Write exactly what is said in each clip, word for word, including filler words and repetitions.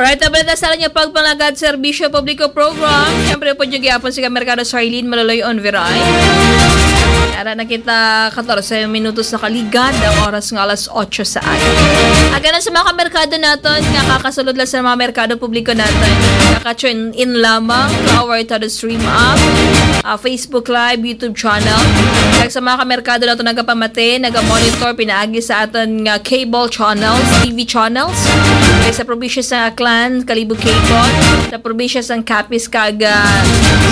Right, abala sa inyo pagpalagad, Serbisyo Publiko Program. Siyempre po, dyan gyapon si Kamerkado Sarlene Maloloy Onveray. Ara na kita, katorse minutos na kaligad, ang oras nga alas otso sa aga. Aga na sa mga kamerkado naton, nga kakasulod lang sa mga merkado publiko naton. Kaka-tune in lamang to our Todo Stream app, ah, Facebook Live, YouTube channel. Kag sa mga kamerkado naton, nagapamati, nagamonitor, pinaagi sa aton nga cable channels, T V channels. Kay sa probinsya sa Aklan, Kalibo Cable, sa probinsya sang Capiz, kag, ah,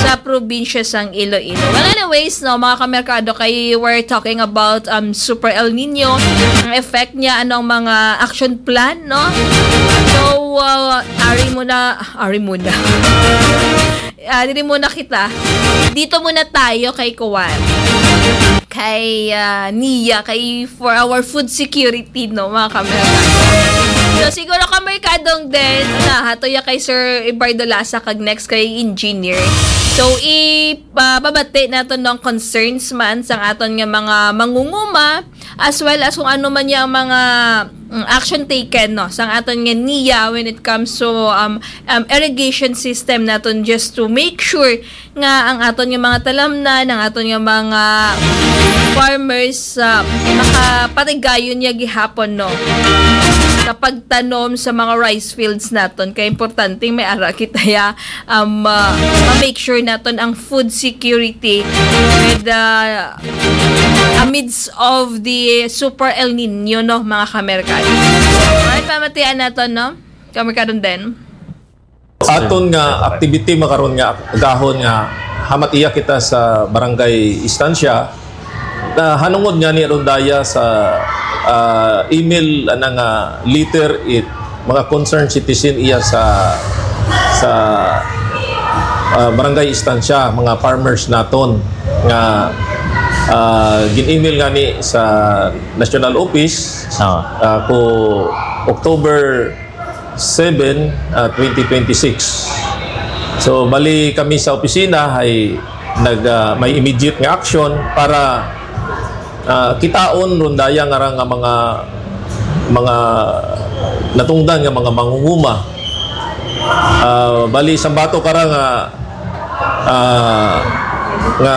sa probinsya sang Iloilo. Well, anyways, no, mga kamerkado, kay we're talking about, um, Super El Nino, ang effect niya, anong mga action plan, no? So, uh, ari muna, ari muna. Ah, diri muna kita. Dito muna tayo kay Kuwan. Kay, ah, Nia, kay for our food security, no, mga kamerkado. So, siguro kamerkadong din, na, hato ya kay Sir Ebardo Lasa, kag next kay Engineer. So, i-, ah, babati naton ng concerns man sang aton nga mga mangunguma, as well as kung ano man yang mga, mm, action taken, no, sang aton nga Nia when it comes to, um, um, irrigation system naton, just to make sure nga ang aton nga mga talamnan, ang aton nga mga farmers, ah, makapatigayon niya gihapon, no, sa pagtanom sa mga rice fields naton. Kay importante may ara kita ya, um, ah, ma-make sure naton ang food security with, ah, amidst of the Super El Nino, no, mga kamerkado. Alright, pamatian naton, no? Kamerkadon din. Aton nga activity makaron nga gahon nga hamat iya kita sa barangay Estancia, na hanungod nga ni Rondaya sa, ah, email, ana nga letter it mga concerned citizen iya sa, sa, ah, barangay Estancia, mga farmers naton nga, ah, gin-email nga ni sa national office, ah, ko October seven, ah, twenty twenty-six. So, bali kami sa opisina ay nag, ah, may immediate nga action para, ah, kitaon Rondaya nga ra nga mga, mga natungdan nga mga mangunguma. Ah, bali, sa bato kara nga, ah, nga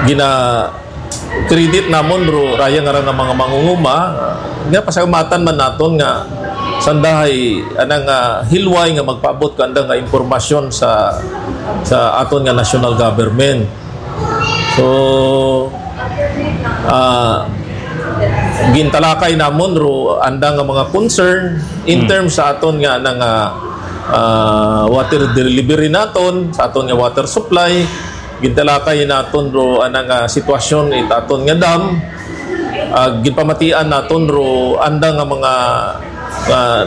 gina-, credit namon, ro, raya nga ra nga mga mangunguma, nga pasalamatan man naton nga sandahay anang, ah, hilway nga magpaabot kanda nga impormasyon sa, sa aton nga national government. So, ah, gintalakay namon ro anda nga mga concern in, hmm, terms sa aton nga nang, ah, ah, water delivery naton, sa aton nga water supply. Gintalakay naton ro anang, ah, sitwasyon it aton nga dam. Ah, ginpamatian naton ro anda nga mga, ah,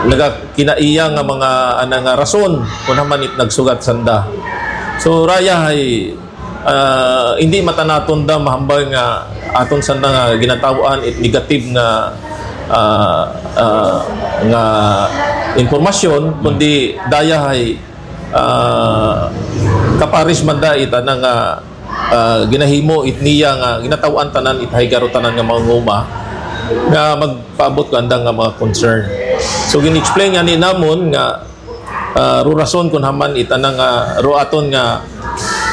nagakinaiya nga mga anang, ah, rason kung haman it nagsugat sanda. So, raya hay, ah, hindi mata naton da mahambal nga aton sanda nga ginataw-an it negative nga, ah, ah, nga impormasyon, kundi daya hay, ah, kaparis man da it ana nga, ah, ginahimo it niya nga ginataw-an tanan it hay garo tanan nga mangunguma nga magpaabot ko andang nga mga concern. So, gin-explain nga ni namon nga, ah, ro rason kun haman it ana nga ro aton nga,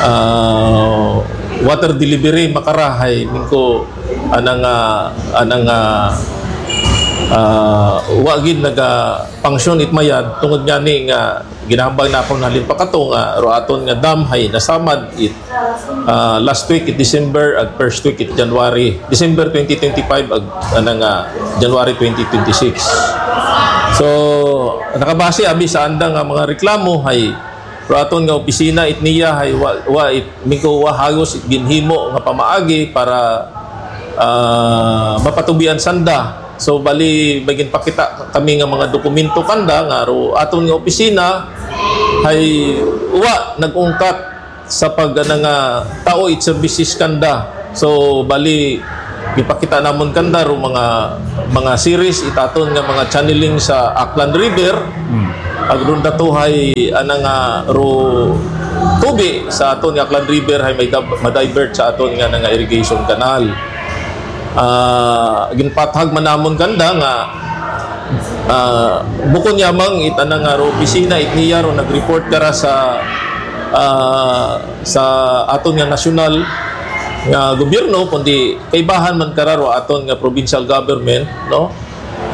ah, water delivery makarahay ningko anang, ah, anang, ah, ah, wa gid naga-function it mayad tungod gani nga ginahambal na akon halin pa kato nga ro aton nga dam hay nasamad it, ah, last week it December ag first week it January, December twenty twenty-five ag anang, ah, January twenty twenty-six. So, nakabase abi sa anda nga mga reklamo hay ro aton nga opisina it niya hay wa, wa it mingko wa hagos it ginhimo nga pamaagi para, ah, mapatubian sanda. So, bali, may ginpakita kami nga mga dokumento kanda nga ro aton nga opisina hay wa nag-ungkat sa pag, ana nga, tao it services kanda. So, bali, gipakita namon kanda ro mga, mga series it aton nga mga channeling sa Aklan River. Hmm. Ag ron datuhay, ana nga, ro tubi sa aton nga Aklan River hay may dab-, ma-divert sa aton nga, nga irrigation canal. Ah, ginpathag man namon kanda nga Ah, bukon yamang it anang nga ro opisina it niya ro nag-report kara sa, ah, sa aton nga nasyonal nga gobyerno, kundi kaibahan man kara ro aton nga provincial government, no?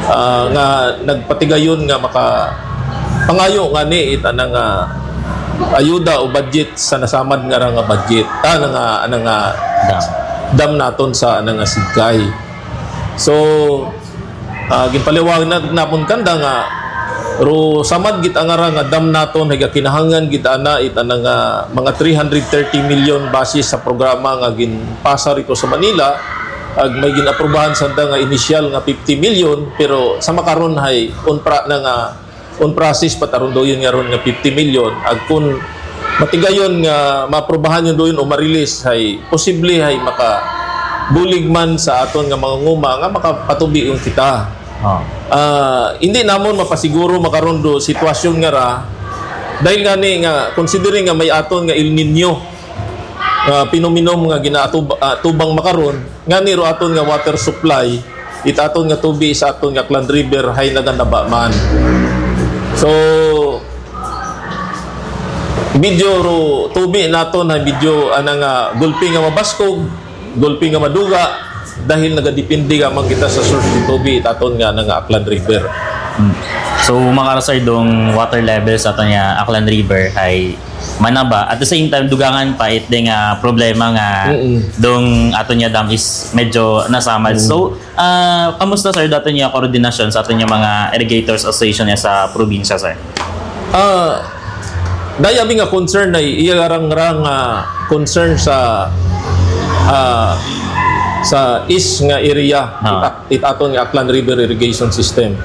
Ah, nga nagpatigayon nga maka pangayo ngani it anang nga ayuda o budget sa nasamad nga ra nga budget, ah, nga, anang nga Dam. dam naton sa anang nga Sigkay. So, ah, ginpaliwanag na, napon kanda nga ro samad gid ang ara nga dam naton, hay kinahanglan gid ana it anang nga mga three hundred thirty million basis sa programa nga ginpasa rito sa Manila, ag may ginaprobahan sanda nga initial nga fifty million, pero sa makaron hay unpra na nga on process pa taron dayon nga ron nga fifty million. Ag kun matigayon nga maaprubahan yun dayon o ma-release, hay posible hay makabulig man sa aton nga mga nguma nga makapatubion kita. Ah. Ah, hindi namon mapasiguro makaron do sitwasyon nga ra, dahil gani nga considering nga may aton nga El Nino nga pinominom nga ginaatub-, ah, tubang makaron, ngani ro aton nga water supply, it aton nga tubi sa aton nga Aklan River hay naganaba man. So, medyo ro tubi naton hay medyo ana nga gulpi nga mabaskog, gulpi nga maduga, dahil nagadepende gamang kita sa source ng tubi it aton nga, nga Aklan River. Hmm. So, makara, sir, dong water level sa aton nga Aklan River ay manaba. At the same time, dugangan pa it ding, ah, problema nga Mm-mm. dong aton nga dam is medyo nasamad. Mm. So, ah, kamusta, sir, dato niya koordinasyon sa aton nga mga irrigators association niya sa probinsya, sir? Ah, daya mi nga concern na iya rang, rang, ah, concern sa, ah, sa east nga area. Ah. It aton nga Aklan River Irrigation System.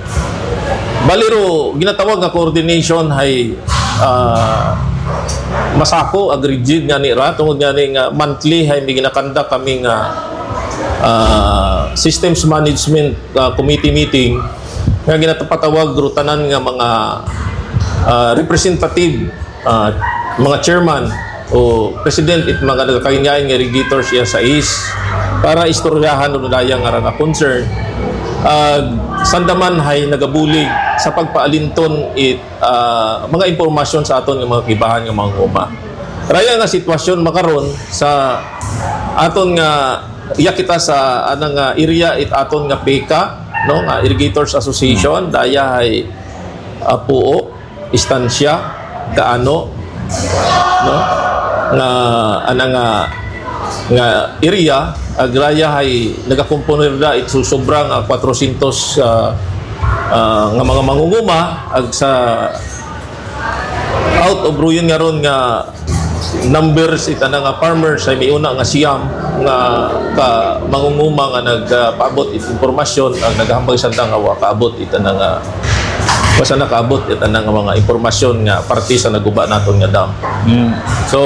Bali ro, ginatawag nga coordination hay, ah, masako ag rigid nga ni ra, tungod nga ni nga monthly hay may ginakandak kami nga, ah, systems management, ah, committee meeting nga ginatapatawag ro tanan nga mga, ah, representative, ah, mga chairman o president it mga nagakaingain nga irrigators iya sa is para istoryahan o daya nga nga concern. Ah, sandaman hay nagabulig sa pagpaalinton it, ah, mga impormasyon sa aton nga mga kibahan nga mga nguma. Raya nga sitwasyon makaron sa aton nga iya kita sa anang nga area it aton nga peka, no, nga Irrigators Association, daya hay, ah, Puo, Estancia, Gaano, no? Nga, ana nga, nga area, agraya hay nagakomponer da it su-, sobra nga kwatrosyentos, ah, ah, nga mga mangunguma, ag sa out of ruyon nga ron nga numbers, it ana nga farmers ay may una nga siyam nga ka mangunguma nga nagpaabot it impormasyon, ang naghambal sa nga wa kaabot it ana nga basta nakaabot it ana nga mga impormasyon nga parte sa naguba naton nga dam. Mm. So,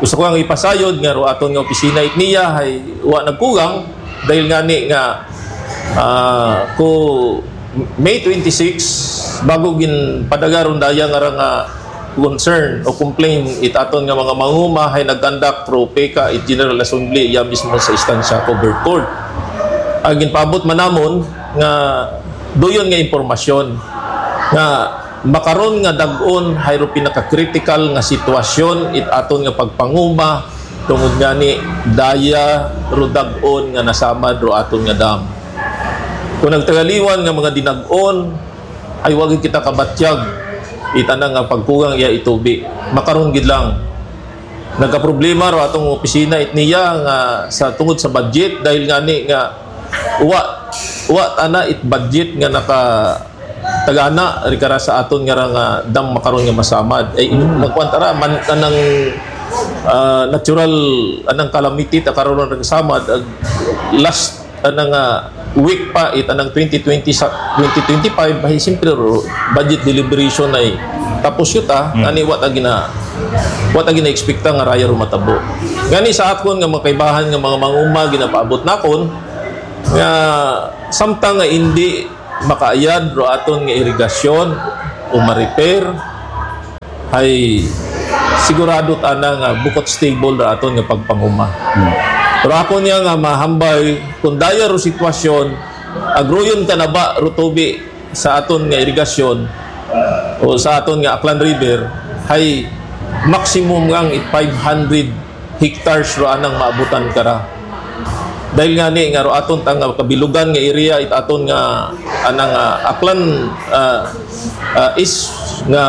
gusto ko ang ipasayod nga ro aton nga opisina it niya ay wa nagkugang dahil ngani nga, ah, ko May twenty-six, bago ginpadagaron daya nga ra nga concern o complaint it aton nga mga manguma hay nagkandak pro peka it General Assembly iya mismo sa Estancia Covered Court. Ang ginpaabot man namon nga duyon nga impormasyon nga makaron nga dag-on hay ro pinaka-critical nga sitwasyon it aton nga pagpanguma tungod ngani daya ro dag-on nga nasamad ro aton nga dam. Kung nagtagaliwan nga mga dinag-on, ay wa gid kita kabatyag itana nga pagkugang iya itubi. Makaron gid lang. Nagkaproblema ro atong opisina it niya nga sa tungod sa budget dahil ngani nga wa wa ana it budget nga naka tagana ri kara sa aton nga ra nga dam makaron nga masamad. Ay, Mm. nagkuan tara man anang, ah, natural anang calamity ta karon nga nagsamad ag last anang, ah, week pa it anang twenty twenty sa twenty twenty-five ay siyempre ro, budget deliberation ay tapos yun ta Mm. ani wa ta gina wa ta gina-expecta nga raya ro matabo. Ngani sa akon nga mga kaibahan nga mga manguma ginapaabot nakon nga samtang nga hindi makaayad ro aton nga irigasyon o ma-repair, ay sigurado tana nga bukot stable ra aton nga pagpanguma. Hmm. Pero ako niya nga mahambal kung daya ro sitwasyon, agroyon ka na ba ro tubi sa aton nga irigasyon o sa aton nga Aklan River, hay maximum nga it five hundred hectares ro anang maabutan kara. Dahil nga ni nga ro aton ta nga kabilugan nga area, it aton nga anang, ah, Aklan, ah, ah, is nga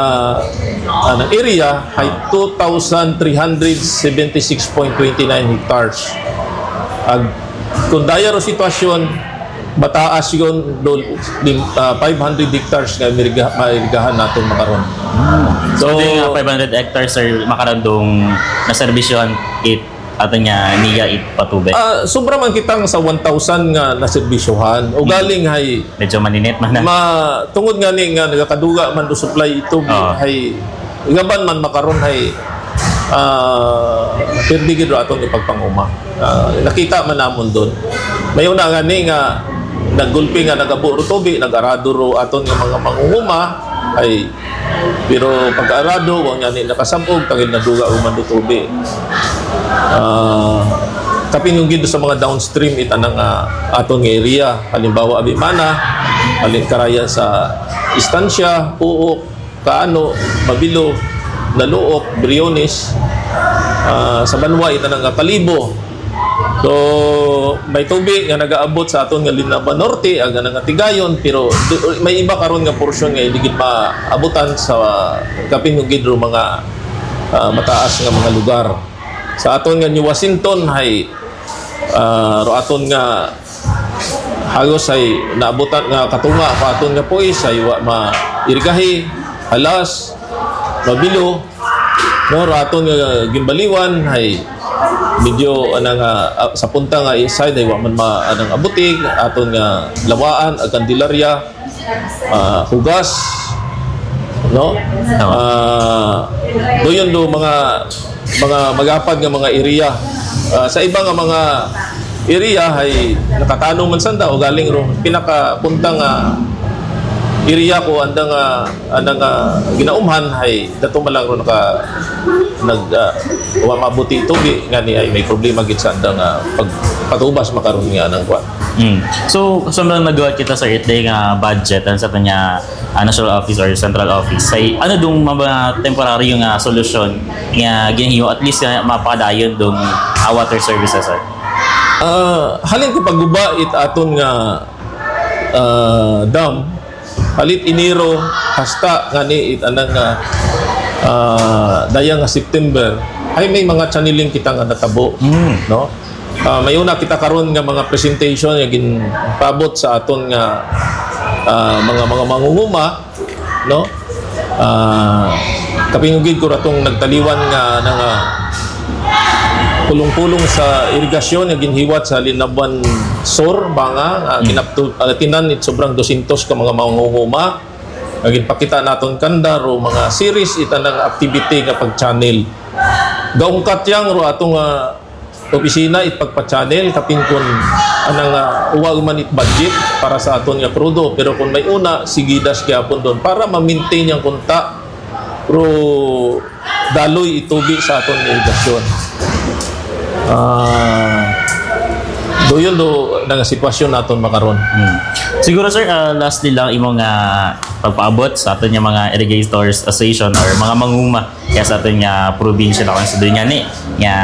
anang area hay two thousand three hundred seventy six point twenty nine hectares. Ag kung daya ro sitwasyon, mataas yun do, lim- ah, five hundred hectares nga mairiga- mairigahan naton makaron. So, so, di nga five hundred hectares, sir, makarandong naserbisyohan it ato niya niya it patubig. Ah, sobra man kita nga sa one thousand nga naserbisyohan. O galing hay Medyo maninit man na. Ma, tungod nga ni nga nagakaduga man do supply ito Oo. Hay gaban man makaron hay ah pirdi gid ro aton ipagpanguma. Ah, nakita man namon doon. May una nga ni nga naggulpi nga nagabo ro tubi, nag-arado ro aton nga mga mangunguma ay pero pagkaarado, wa nga ni nakasabog, tangil naduga human do tubi. Ah, kapin yung gid sa mga downstream it anang ah, aton nga area. Halimbawa, Abimana, halin karaya sa Estancia, Puok, Kaano, Mabilo, Naluok, Briones, ah, sa Banwa, it anang ah, Kalibo, So, may tubi nga nagaabot sa aton nga Linaba Norte, aga na nga Tigayon, pero du- may iba karon nga porsyon nga hindi gid maabutan sa kapin gid ro mga ah, mataas nga mga lugar. Sa aton nga New Washington hay ah, ro aton nga hagos ay naabutan nga katunga pa aton nga Puis ay wa mairgahi, halas, mabilo, no, ro aton nga Gimbaliwan ay medyo ana nga ah, sa punta nga East Side ay wa man ma anang abutig, aton nga Lawaan ag Candelaria, ah, Hugas, no? Ah, doon do mga mga magapad nga mga area. Ah, sa iba nga mga area ay nakatanong man sanda o galing ro pinakapunta nga area ko anda nga anda nga ginaumhan ay dato man lang ro naka nag ah, wa mabuti tubi nga ni ay may problema gid sa anda nga pagpatubas makaron nga nang kwan. Mm. So, sa mga nagawa kita sa it day nga budget and sa kanya ah, national office or central office, say, ano dong mga temporaryo nga solusyon nga ginhiyo at least nga mapadayon dong ah, water services, sir? Ah, halin ko pagguba it aton nga ah, dam, halit Enero hasta nga ni it anang nga ah, daya nga September ay may mga channeling kita nga natabo, Mm. no? Ah, may una kita karon nga mga presentation nga ginpabot sa aton nga ah, mga mga mangunguma, no? Ah, kapingugid ko ratong nagtaliwan nga nanga pulong-pulong sa irigasyon nga ginhiwat sa Linabuan Sur, Banga, nga ginaptu- ah, tinan it sobrang dosyentos ka mga mangunguma nga ginpakita naton kanda ro mga series ita nga activity nga pag-channel. Gaungkat yang ro ato nga opisina it pagpa-channel kapin kun anang ah, uwag man it budget para sa aton nga krudo, pero kung may una, sige das gyapon doon para ma-maintain yang kunta ro daloy itubi sa aton nga irigasyon. Ah, do yun do na nga sitwasyon naton makaron. Hmm. Siguro, sir, ah, lastly lang, imo nga pagpaabot sa aton nga mga irrigators association or mga manguma kaya sa aton nga probinsya na kung sa dunya ni nga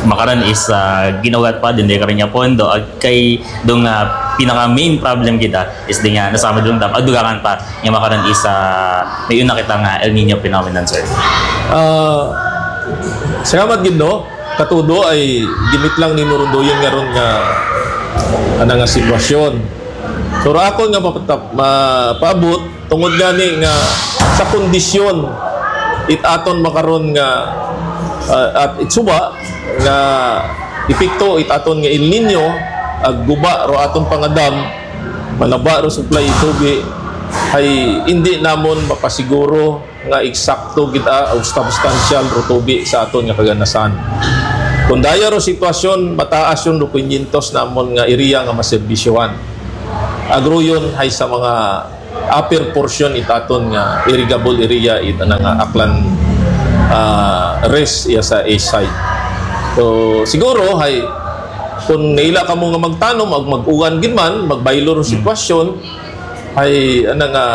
makaron is ah, ginugat pa din di karon nga pondo ag kay do nga pinaka main problem kita is di nga nasama dong dam ag dugangan pa nga makaron is ah, may una kita nga El Nino phenomenon, sir. Ah, salamat gid, no? Katudo ay gimit lang ni Murondoyon nga ron nga ana nga sitwasyon. Pero ako nga mapatap, mapaabot tungod gani nga sa kondisyon it aton makaron nga ah, at itsuba nga epekto it aton nga El Nino ag guba ro aton pangadam, manaba ro supply tubi, ay hindi namon mapasiguro nga eksakto gid ah, o substantial ro tubi sa aton nga kaganasan. Kung daya ro sitwasyon, mataas yun ro quinientos namon nga area nga maserbisyohan. Agruyon hay sa mga upper portion it aton nga irrigable area it na nga Aklan ah, rest iya sa east side. So siguro hay kung naila kamo nga magtanom ag mag-uwan gid man, magbaylo ro sitwasyon, Ay, ano nga,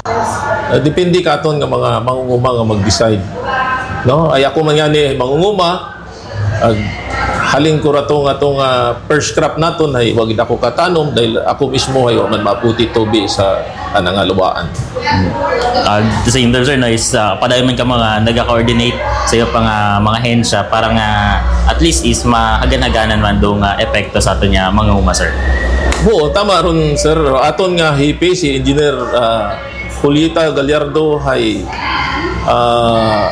ah, depende ka aton nga mga mangunguma nga mag-decide. No? Ay, ako man nga ni mangunguma, ag halin ko rato nga tong, ah, first crop naton ay wag ako katanom dahil ako mismo ay wa man maputi tubi sa ana nga luwaan. At the same time, sir, no, is, ah, padayon man ka mga nagka-coordinate sa iyo pa nga mga hensya para nga at least is mahagan-haganan man do nga epekto sa aton nga mga uma, sir. Oo, tama ron, sir. Aton nga hipi, si Engineer, ah, Julieta Gallardo, ay, ah,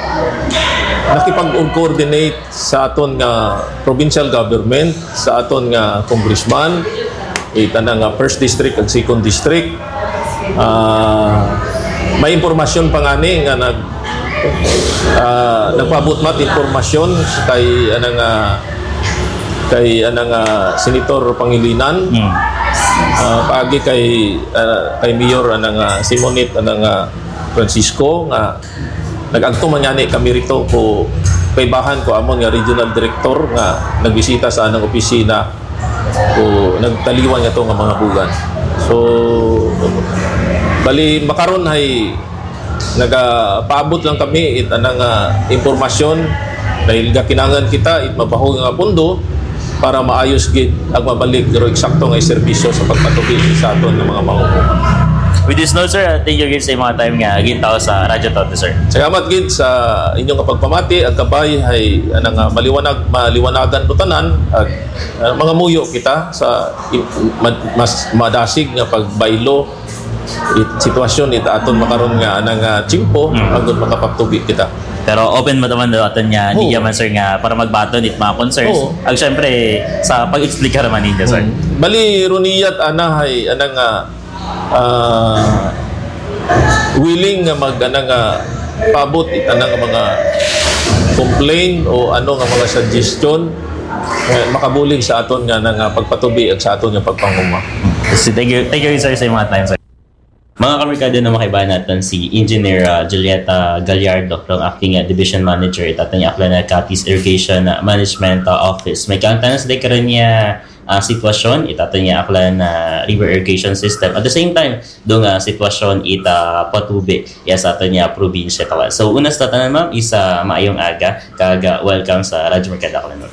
nakipag-coordinate sa aton nga provincial government, sa aton nga congressman, ita na nga first district ag second district. Ah, may impormasyon pa ngani nga nag ah, nagpaabot mat impormasyon kay anang ah, kay anang ah, Senator Pangilinan, Hmm. ah, paagi kay ah, kay Mayor anang ah, Simonit anang ah, Francisco nga nag-agto man ngani kami rito ko kaibahan ko amon nga regional director nga nagbisita sa anang opisina ko nagtaliwan nga to nga mga bugan. So bali makaron hay nagapaabot lang kami it anang ah, impormasyon dahil gakinangan kita it mabaho nga pundo para maayos gid ang mabalik pero eksakto nga serbisyo sa pagpatubi sa aton nga mga mangunguma. With this note, sir, uh, thank you again sa mga time nga gintaw sa Radyo Toto, sir. Salamat gid sa inyong pagpamati ag kabay hay anang ah, maliwanag maliwanagan mo tanan ag ah, mga muyo kita sa i- ma- mas madasig nga pagbaylo it sitwasyon it aton makaron nga anang ah, tiyempo Mm. agud makapagtubi kita. Pero open mo naman daw aton nga Oo. media man, sir, nga para magbaton it mga concerns. Oo. Ag syempre, sa pag-explicar man ninyo, sir. Mm. Bali runiyat anahay anang ah, ah, willing nga mag anang ah, paabot it anang mga complaint o ano nga mga suggestion eh, makabulig sa aton nga nang ah, pagpatubi ag sa aton nga pagpanguma. So, thank you, thank you, sir, sa mga time, sir. Mga kamerkado, na makaibahan natin si Engineer, ah, Julieta Gallardo from acting, ah, Division Manager itato niya Aklan, ah, Capiz Irrigation, ah, Management, ah, Office. May kaangtanan sa karon niya, ah, sitwasyon itato niya Aklan, ah, River Irrigation System. At the same time, do nga sitwasyon ita patubi ya sa ato niya probinsya, kawan. So, una sa tanan, ma'am, isa maayong aga kag, ah, welcome sa Radyo Merkado Aklan.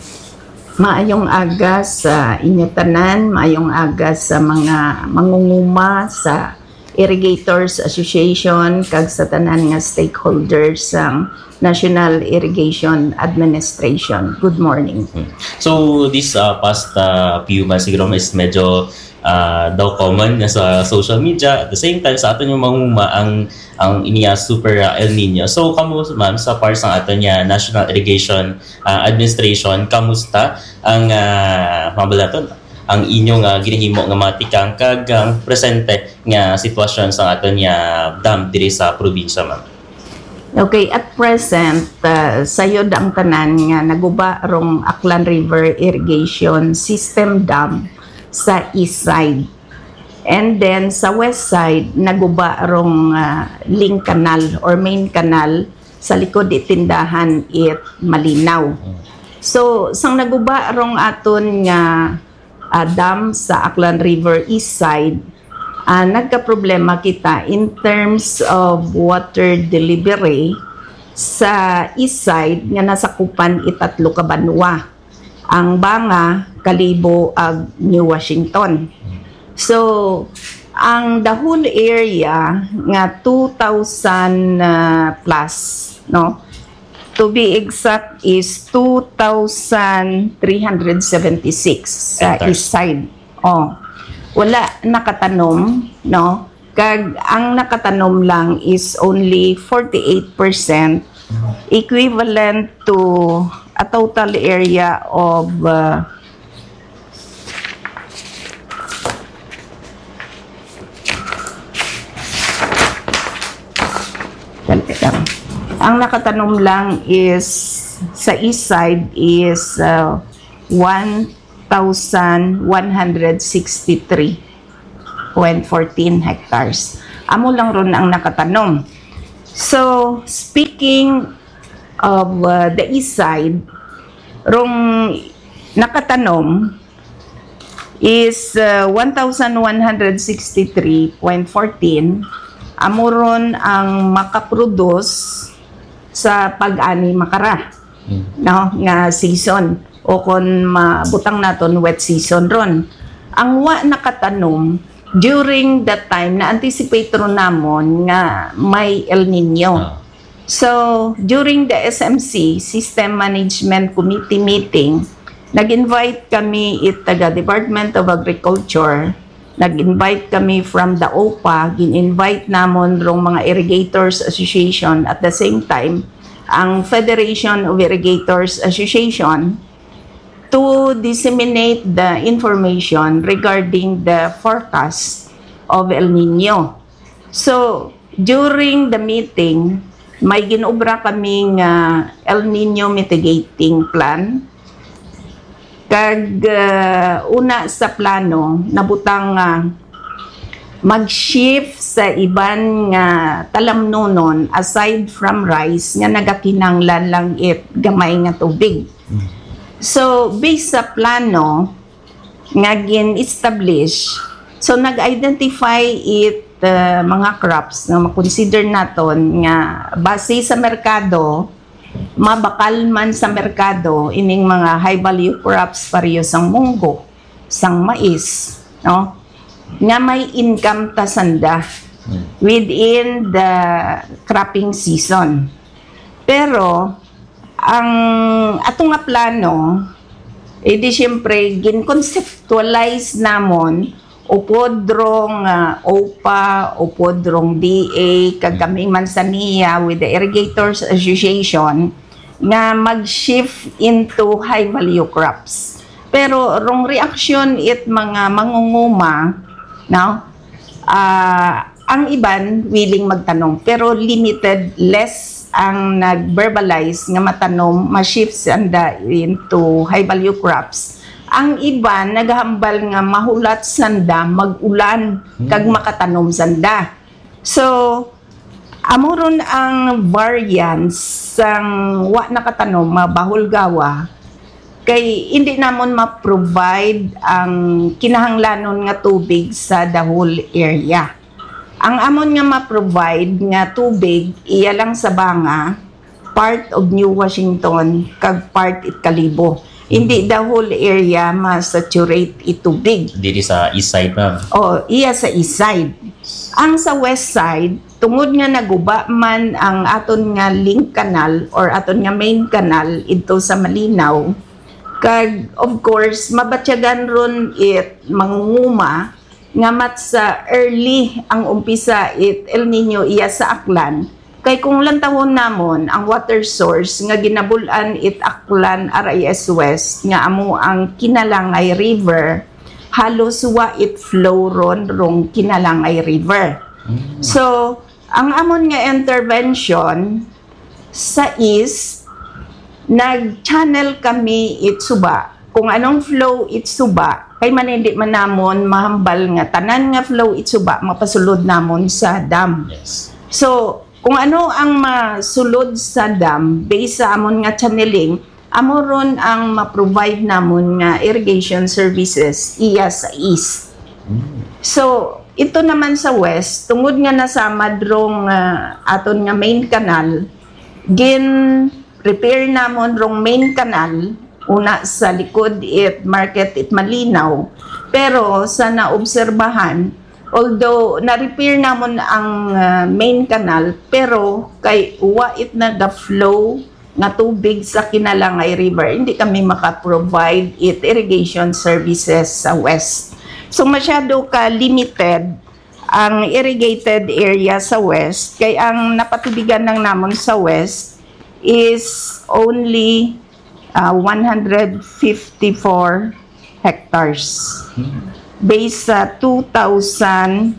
Maayong aga sa inyo tanan, maayong aga sa mga mangunguma sa Irrigators Association kag sa tanan nga stakeholders sang National Irrigation Administration. Good morning. So this uh, past uh, few months siguro is medyo uh, daw common na sa social media. At the same time, sa aton yung manguma ang ang iniya super uh, El Nino. So kamo, ma'am, sa part sang aton niya National Irrigation uh, Administration, kamusta ang uh, mabalaton ang inyong uh, ginahimo nga mga tikang kag ang presente nga sitwasyon sa aton niya dam diri sa probinsya, ma'am? Okay, at present, uh, sayod ang tanan nga naguba rong Aklan River Irrigation System Dam sa east side. And then sa west side, naguba rong uh, link canal or main canal sa likod di tindahan it Malinaw. So, sang naguba rong aton nga uh, dam sa Aklan River East Side, uh, nagkaproblema kita in terms of water delivery sa east side nga nasakupan itatlo ka banwa, ang Banga, Kalibo, ag New Washington. So, ang the whole area nga two thousand uh, plus, no? To be exact is two thousand three hundred seventy-six sa Hectares. East Side. Oh, wala nakatanom, no? Kag ang nakatanom lang is only forty-eight percent, equivalent to a total area of uh, Dali lang. Ang nakatanom lang is sa east side is uh, one thousand one hundred sixty-three point fourteen hectares. Amo lang ron ang nakatanom. So, speaking of uh, the east side, rong nakatanom, is uh, one thousand one hundred sixty-three point fourteen, amo ron ang makaproduce sa pag-ani makara, no, nga season, o kon mabutang naton wet season ron. Ang wa nakatanom during that time, na-anticipate ron namon nga may El Nino. Ah. So, during the S M C, System Management Committee meeting, nag-invite kami it taga Department of Agriculture, nag-invite kami from the O P A, gin-invite namon rong mga Irrigators Association, at the same time, ang Federation of Irrigators Association, to disseminate the information regarding the forecast of El Nino. So, during the meeting, may ginobra kami nga El Nino mitigating plan. Kag uh, una sa plano, nabutang nga mag-shift sa iban nga talamnunon aside from rice nga nagakinahanglan lang it gamay nga tubig. So, based sa plano nga gin-establish, so nag-identify it uh, mga crops nga makonsider naton nga base sa merkado, mabakal man sa merkado ining mga high value crops pareho sang munggo, sang mais, no? Nga may income ta sanda within the cropping season. Pero ang ato nga plano, edi siyempre, gin-conceptualize namon upod rong uh, O P A, upod rong D A, kag kami man sa niya with the Irrigators Association, nga mag-shift into high value crops. Pero rong reaction it mga mangunguma, no? Ah, ang iban willing magtanom, pero limited, less ang nag-verbalize nga matanom, ma-shift sanda into high value crops. Ang iban nagahambal nga mahulat sanda mag-ulan kag makatanom sanda. So, amo ron ang variance sang wa nakatanom, mabahol gawa, kay hindi namon ma-provide ang kinahanglanon nga tubig sa the whole area. Ang amon nga ma-provide nga tubig, iya lang sa Banga, part of New Washington, kag part it Kalibo. Hindi the whole area ma-saturate it tubig. Diri sa east side, ma'am. Oh, iya sa east side. Ang sa west side, tungod nga naguba man ang aton nga link canal or aton nga main canal idto sa Malinaw, kag of course, mabatyagan ron it mangunguma nga mat sa early ang umpisa it El Nino iya sa Aklan, kay kung lantawon namon ang water source nga ginabul-an it Aklan R I S West nga amo ang Kinalangay River, halos wa it flow ron rong Kinalangay River. Mm. So, ang amon nga intervention sa east, nag-channel kami it suba. Kung anong flow it suba, kay man hindi man namon mahambal nga tanan nga flow it suba mapasulod namon sa dam. Yes. So, kung ano ang masulod sa dam, based sa amon nga channeling, amo ron ang ma-provide namon nga irrigation services iya sa east. Mm. So, ito naman sa west, tungod nga nasamad rong ah, aton nga main canal, gin-repair namon rong main canal, una sa likod it market it Malinaw. Pero sa naobserbahan, although na-repair namon ang ah, main canal, pero kay wa it naga-flow nga tubig sa Kinalangay River, hindi kami maka-provide it irrigation services sa west. So, masyado ka limited ang irrigated area sa west, kay ang napatubigan lang namon sa west is only ah, one hundred fifty-four hectares, based sa two thousand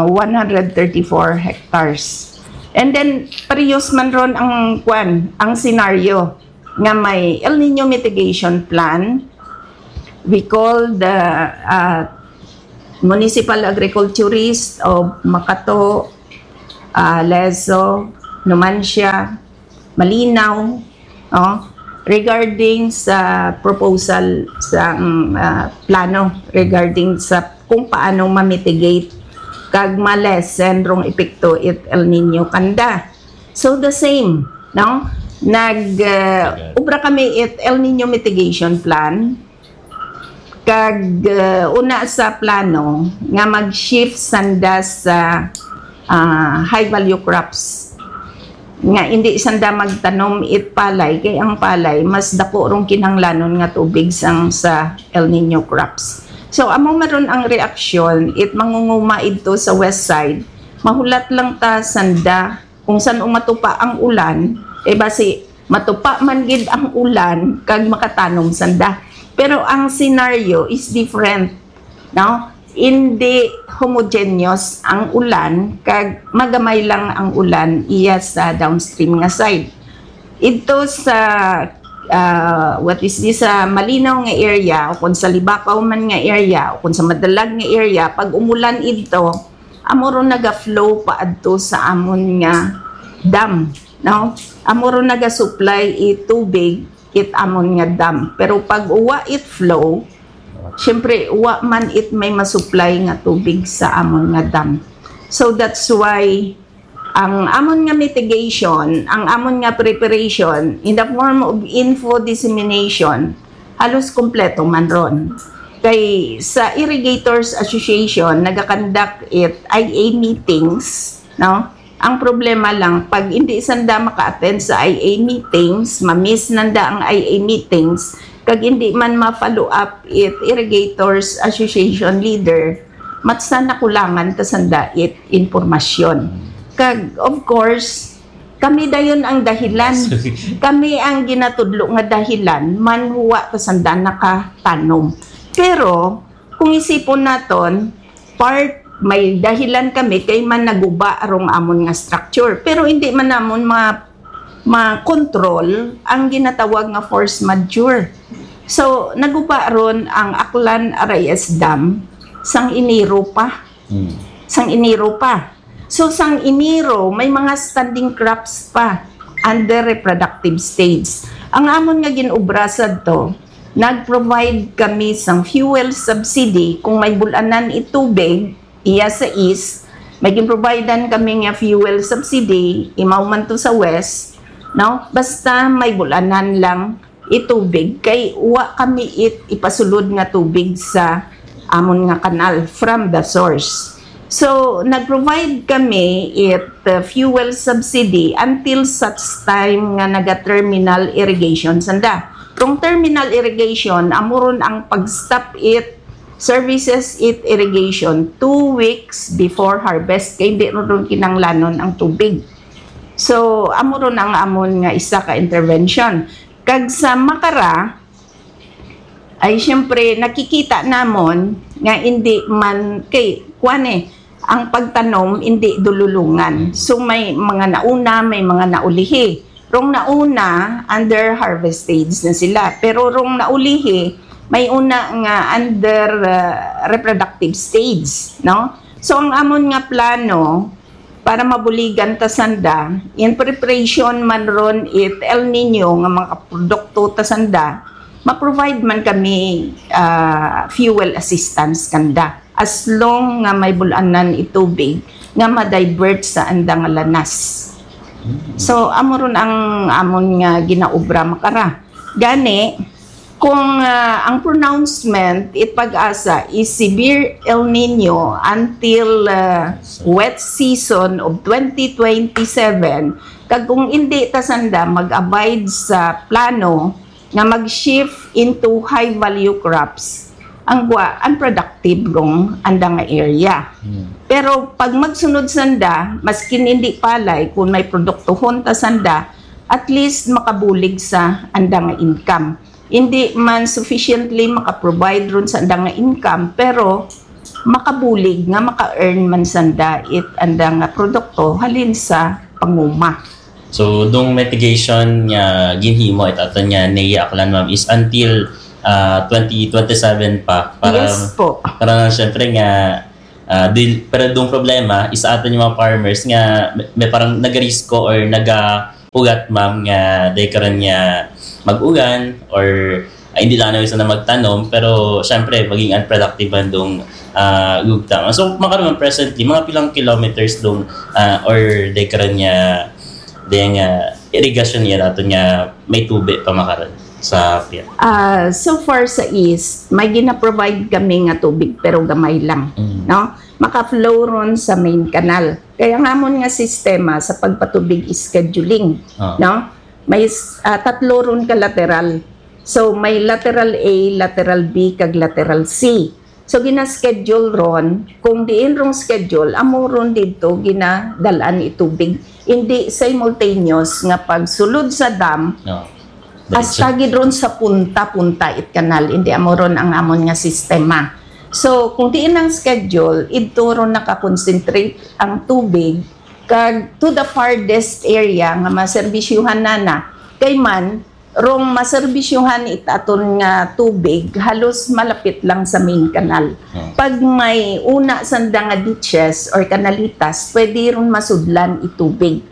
one hundred thirty-four hectares. And then, parehas man ron ang, kwan, ang senaryo nga may El Nino Mitigation Plan. We call the uh, municipal agriculturist of Makato, uh, Lezo, Numancia, Malinaw, oh, regarding sa proposal sa, mm, ah, plano regarding sa kung paano ma-mitigate kag ma-lessen rong epekto it El Nino kanda. So the same, no? Nag, ah, Okay. Ubra kami it El Nino mitigation plan. Kag, ah, una sa plano nga mag-shift sanda sa, ah, high value crops. Nga hindi sanda magtanom it palay, kay ang palay mas dako rong kinahanglanon nga tubig sang sa El Nino crops. So amo maron ang reaksyon it mangunguma idto sa west side. Mahulat lang ta sanda kung san-o matupa ang ulan, kay basi matupa man gid ang ulan kag makatanom sanda. Pero ang scenario is different, no? Hindi homogeneous ang ulan, kag magamay lang ang ulan iya sa downstream nga side. Ito sa, ah, what is this, sa malinaw nga area, o kung sa libakaw man nga area, o kung sa madalag nga area, pag umulan ito, amo ron naga-flow paadto sa amon nga dam, no? Amo ron naga-supply it tubig it amon nga dam. Pero pag wa it flow, syempre, wa man it may masupply nga tubig sa amon nga dam. So that's why ang amon nga mitigation, ang amon nga preparation in the form of info dissemination, halos kompleto man ron. Kay sa Irrigators Association, nagakandak it I A meetings, no? Ang problema lang, pag hindi sanda maka-attend sa I A meetings, ma-miss nanda ang I A meetings, kag hindi man ma-follow up it Irrigators Association leader, matsa nakulangan ta sanda it impormasyon. Kag, of course, kami dayon ang dahilan. Kami ang ginatudlo nga dahilan man wa ta sanda nakatanom. Pero kung isipon naton, part may dahilan kami kay man naguba rong amon nga structure. Pero hindi man namon ma ma-control ang ginatawag nga force majeure. So naguba ron ang Aklan Arayes Dam sang Enero pa. Hmm. Sang Enero pa. So sang Enero, may mga standing crops pa under reproductive stage. Ang amon nga gin-obra sadto, nag-provide kami sang fuel subsidy kung may bul-anan itubig iya sa east, may gin-providean kami nga fuel subsidy, imaw man to sa west, no? Basta may bul-anan lang itubig, kay wa kami it ipasulod nga tubig sa amon nga kanal from the source. So, nag-provide kami it, uh, fuel subsidy until such time nga naga-terminal irrigation sanda. Kung terminal irrigation, amo ron ang pag-stop it services it irrigation two weeks before harvest, kay hindi ron kinahanglanon ang tubig. So, amo ron ang amon nga isa ka intervention. Kag sa Macara, ay siyempre nakikita namon nga hindi man kay kuan eh, ang pagtanom hindi dululungan. So may mga nauna, may mga naulihi. Rong nauna, under harvest stage na sila. Pero rong naulihi, may una nga under, uh, reproductive stage, no? So ang amon nga plano para mabuligan ta sanda, in preparation man ron it El Nino nga mga produkto ta sanda, ma-provide man kami, uh, fuel assistance kanda as long nga may bul-anan itubig nga ma-divert sa anda nga lanas. So amo ron ang amon nga ginaobra, Macara. Gani, kung, ah, ang pronouncement it Pag-asa is severe El Nino until, ah, wet season of twenty twenty-seven, kag kung hindi ta sanda mag-abide sa plano nga mag-shift into high value crops, ang gwa unproductive rong anda nga area. Hmm. Pero pag magsunod sanda, maskin hindi palay, kung may produktohon ta sanda, at least makabulig sa anda nga income. Hindi man sufficiently makaprovide ron sa anda nga income, pero makabulig nga maka-earn man sanda it anda nga produkto halin sa panguma. So, dong mitigation nga ginhimo it aton nga Nea Aklan, ma'am, is until, ah, twenty twenty-seven pa para, yes po, para syempre nga, ah, dil-, pero dong problema is aton yung mga farmers nga may, may parang nagarisko or nagapugat, ma'am, nga day karon nga mag-ugan or, ah, hindi lang na gusto na magtanom, pero syempre, maging unproductive man dong, ah, gugta. So, makaroon presently, mga pilang kilometers dong, ah, or dekra niya, ding, ah, irigasyon niya nato nga may tubig pa makaroon sa pier. Ah, so far sa east, may gina-provide kami nga tubig, pero gamay lang, Mm. no? Maka-flow ron sa main canal. Kaya ang amon nga sistema sa pagpatubig is scheduling, Ah. no? May s-, ah, tatlo ron ka lateral. So, may lateral A, lateral B, kag lateral C. So, gina-schedule ron, kung diin rong schedule, amo ron didto ginadal-an itubig. Hindi simultaneous nga pagsulod sa dam, No. hasta gid ron sa punta-punta it kanal. Hindi amo ron ang amon nga sistema. So, kung diin ang schedule, idto ron nakakonsentrate ang tubig kag to the farthest area nga maserbisyuhan nana. Kay man, rong maserbisyuhan it aton nga tubig, halos malapit lang sa main canal. Hmm. Pag may una sanda nga ditches or kanalitas, pwede ron masudlan itubig.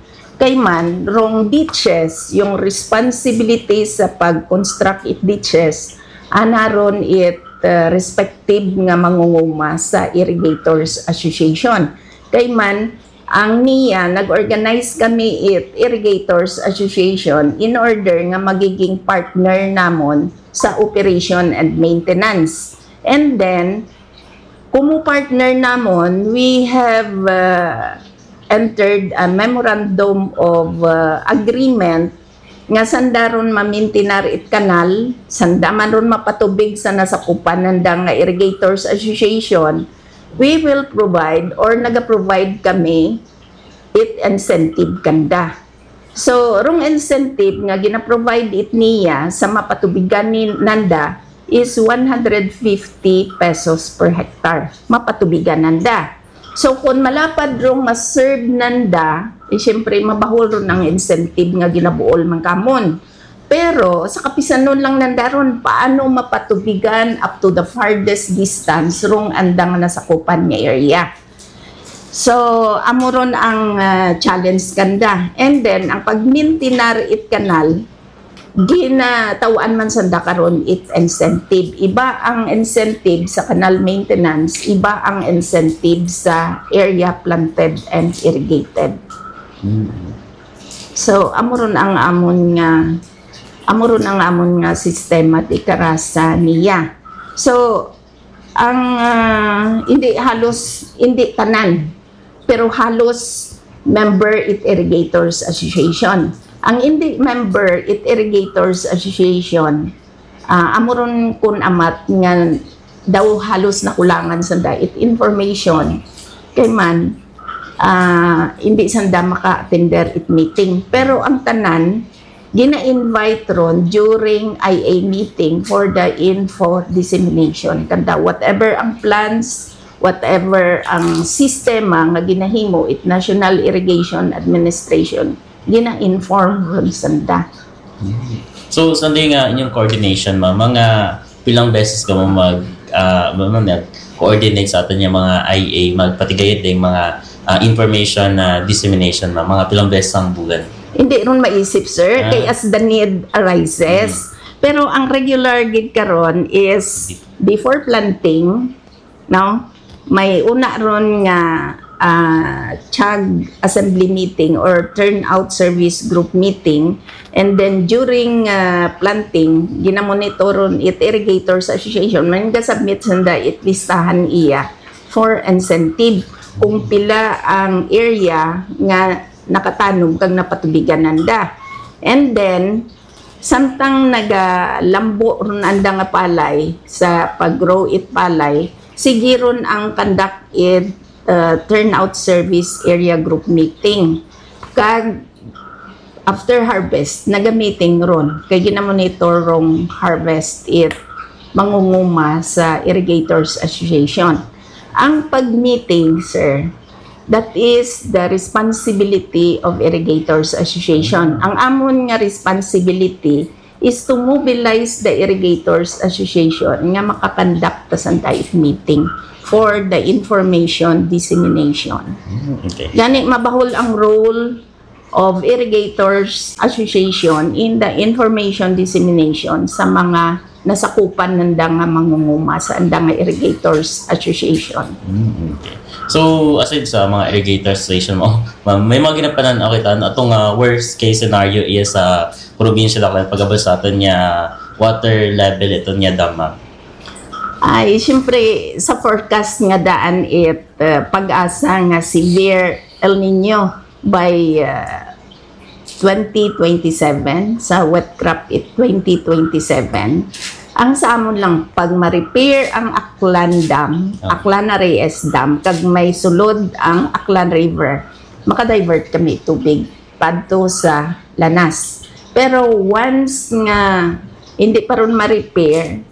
Kay man, rong ditches, yung responsibility sa pag-construct it ditches, ana ron it, uh, respective nga mangunguma sa Irrigators Association. Kay man, ang niya, nag-organize kami it Irrigators Association in order nga magiging partner namon sa operation and maintenance. And then, kumo partner namon, we have, uh, entered a memorandum of, uh, agreement nga sanda ron mamintinar it kanal, sanda man ron mapatubig sa nasakupan nanda nga Irrigators Association, we will provide or naga-provide kami it incentive kanda. So, rong incentive nga gina-provide it niya sa mapatubigan ni nanda is one hundred fifty pesos per hectare. Mapatubigan nanda. So, kung malapad rong ma-serve nanda, eh, siyempre, mabahol ron ang incentive nga ginabuol man kamon. Pero, sa kapisanon lang nanda ron, paano mapatubigan up to the farthest distance rong andang nasakupan nga area? So, amo ron ang, ah, challenge kanda. And then, ang pagmintinar it kanal, ginataw-an man sanda karon it incentive. Iba ang incentive sa canal maintenance, iba ang incentive sa area planted and irrigated. Mm. So, amo ron ang amon nga, amo ron ang amon nga sistema ti Karasa niya. So, ang, ah, hindi halos, hindi tanan, pero halos member it Irrigators Association. Ang hindi member it Irrigators Association, ah, amo ron kun amat nga daw halos nakulangan sanda it information. Kay man, ah, hindi sanda maka-attender it meeting. Pero ang tanan, gina-invite ron during I A meeting for the info dissemination. Kanda, whatever ang plans, whatever ang sistema nga ginahimo it National Irrigation Administration, gina-inform ron sanda. So, Sunday nga inyong coordination, ma'am, mga pilang beses ka mo mag, ah, ano, nag-coordinate sa aton nga mga I A, magpatigayad ding mga, ah, information na dissemination, ma'am? Mga pilang beses ang bulan? Hindi ron maisip, sir, Ah. kay as the need arises. Mm. Pero ang regular gid karon is Di- before planting, no? May una ron nga, ah, chag assembly meeting or turnout service group meeting. And then during, ah, planting, ginamonitoron it Irrigators Association, man ga-submit sanda it listahan iya for incentive kung pila ang area nga nakatanom kag napatubigan nanda. And then, samtang nagalambo ron anda nga palay sa pag-grow it palay, sige ron ang conduct it, uh, turnout service area group meeting. Kag after harvest, naga-meeting ron. Kay ginamonitor rong harvest it mangunguma sa Irrigators Association. Ang pag-meeting, sir, that is the responsibility of Irrigators Association. Ang amon nga responsibility is to mobilize the Irrigators Association nga makakonduct ta sanda it meeting for the information dissemination. Mm, okay. Gani, mabahol ang role of Irrigators Association in the information dissemination sa mga nasakupan nanda nga mangunguma sa anda nga Irrigators Association. Mm, okay. So, aside sa mga irrigator station mo, ma'am, may mga ginapanan-aw kita, ano, atong, ah, worst case scenario is sa probinsya lang lang pagabot sa aton nga water level iton nga dam, ma'am. Ay, siyempre, sa forecast nga daan it uh, pag-asa nga severe El Nino by uh, twenty twenty-seven, sa wet crop it twenty twenty-seven, ang sa amon lang pag ma-repair ang Aklan Dam, Ah. Aklan na Reyes Dam, kag may sulod ang Aklan River, makadivert kami tubig padto sa Lanas. Pero once nga hindi pa ron ma-repair,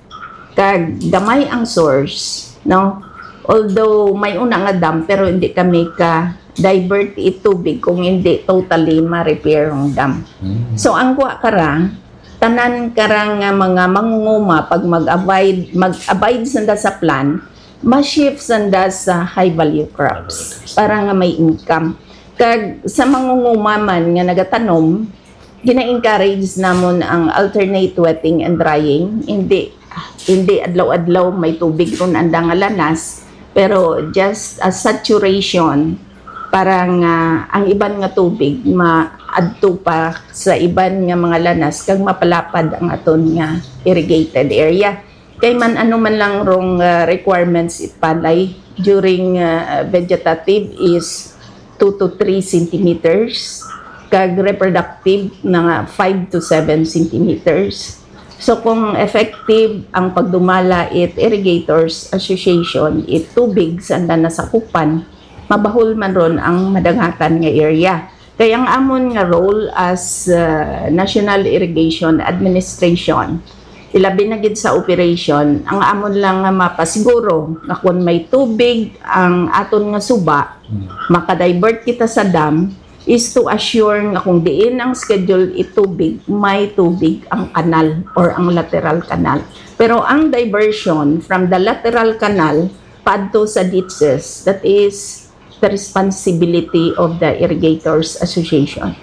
kag gamay ang source, no? Although may una nga dam, pero hindi kami ka divert it tubig kung hindi totally ma-repair ang dam. Mm. So ang kuha kara, tanan kara nga mga mangunguma pag mag-abide, mag-abide sanda sa plan, ma-shift sanda sa high value crops para nga may income. Kag sa mangunguma man nga nagatanom, gina-encourage namon ang alternate wetting and drying. Hindi hindi adlaw-adlaw may tubig ron anda nga Lanas, pero just a saturation para nga ang iban nga tubig maadto pa sa iban nga mga Lanas kag mapalapad ang aton nga irrigated area. Kay man ano man lang rong uh, requirements ipalay during uh, vegetative is two to three centimeters, kag reproductive na nga five to seven centimeters. So kung effective ang pagdumala it Irrigators Association, it tubig sa anda nasakupan, mabahol man ron ang madagatan nga area. Kay ang amon nga role as uh, National Irrigation Administration, ilabi na gid sa operation, ang amon lang nga mapasiguro nga kung may tubig ang aton nga suba, makadivert kita sa dam, is to assure nga kung diin ang schedule itubig, may tubig ang kanal or ang lateral canal. Pero ang diversion from the lateral canal padto sa ditches, that is the responsibility of the Irrigators Association.